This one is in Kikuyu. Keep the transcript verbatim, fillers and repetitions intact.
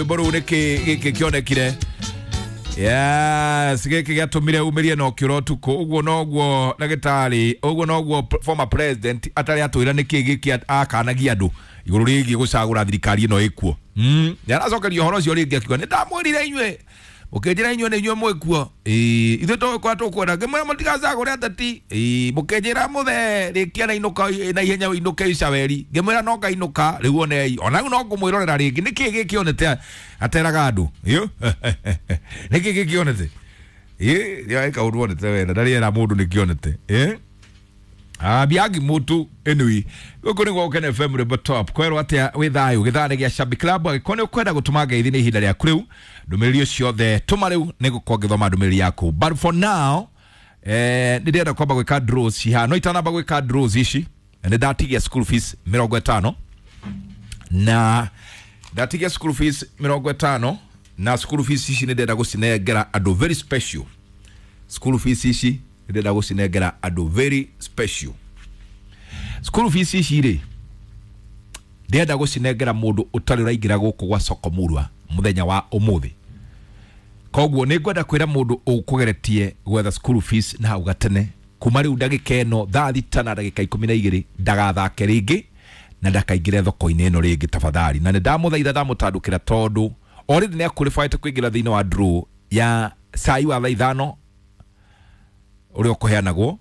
Rwĩmbo rũu nĩkĩ gĩkĩ kĩonekire? Yes, gĩkĩ gĩatũmire umĩrie na ũkĩũra ũtukũ. Ũguo noguo ndagĩtarĩ, ũguo noguo former president atarĩ atwĩra nĩkĩ gĩkĩ akanagia andũ igũrũ rĩgiĩ gũcagũra thirikari ĩno ĩkuo. Mm, nĩ aracokeria ũhoro ũcio rĩngĩ akiuga nĩ ndamwĩrire inyuĩ, mũkĩnjĩra inyuĩ nĩ inyuĩ mwĩkuo. Ĩĩ, ithuĩ tũgũkorwo tũkwenda ngĩmwĩra mũtigacagũre ateti. Ĩĩ, mũkĩnjĩra mũthee rĩkia na inũka na ihenya ũinũke icaweri, ngĩmwĩra no ngainũka. Rĩu onei ona rĩu no ngũmwĩrorera rĩngĩ. Nĩkĩ gĩkĩ onete ateraga andũ? Ĩyo nĩkĩ gĩkĩ onete? Ĩĩ, nĩ kaũndũ onete wena ndarĩ era mũndũ nĩkĩonete. Ĩĩ, Biagi mutu. Anyway, gũkũ nĩ gwa Ken F M, rwĩmbo top kwerwo atĩa wĩ thayũ gĩthaa nĩ gĩa Shabik Club. Angĩkorwo nĩ ũkwenda gũtũma ngeithi, nĩ ihinda rĩaku rĩu. Ndũmĩrĩri ciothe tũma rĩu, nĩ gũkorwo ngĩthoma ndũmĩrĩri yaku. But for now, eh, nĩ ndĩrenda kwamba gwĩka draws ciha no itanamba gwĩka draws ici, nĩ ndatigia school fees mĩrongo ĩtano, na ndatigia school fees mĩrongo ĩtano, na school fees ici nĩ ndĩrenda gũcinengera andũ very special. School fees ici nĩ ndĩrenda gũcinengera andũ very special. School fees ici rĩ, ndĩrenda gũcinengera mũndũ ũtarĩ ũraingĩra gũkũ gwa Sokomurwa mũthenya wa ũmũthĩ. Koguo nĩ ngwenda kwĩra mũndũ ũkũgeretie gwetha school fees na hau gatene, kuma rĩu ndagĩka ĩno thaa thita na ndagĩka ikũmi na igĩrĩ, ndagathake rĩngĩ na ndakaingĩre thoko-inĩ ĩno rĩngĩ tafadhali. Na nĩ ndamũthaitha, ndamũtandũkĩra, tondũ already nĩ aqualified kũingĩra thĩinĩ wa draw ya cai wa thaa ithano ũrĩa ũkũheanagwo.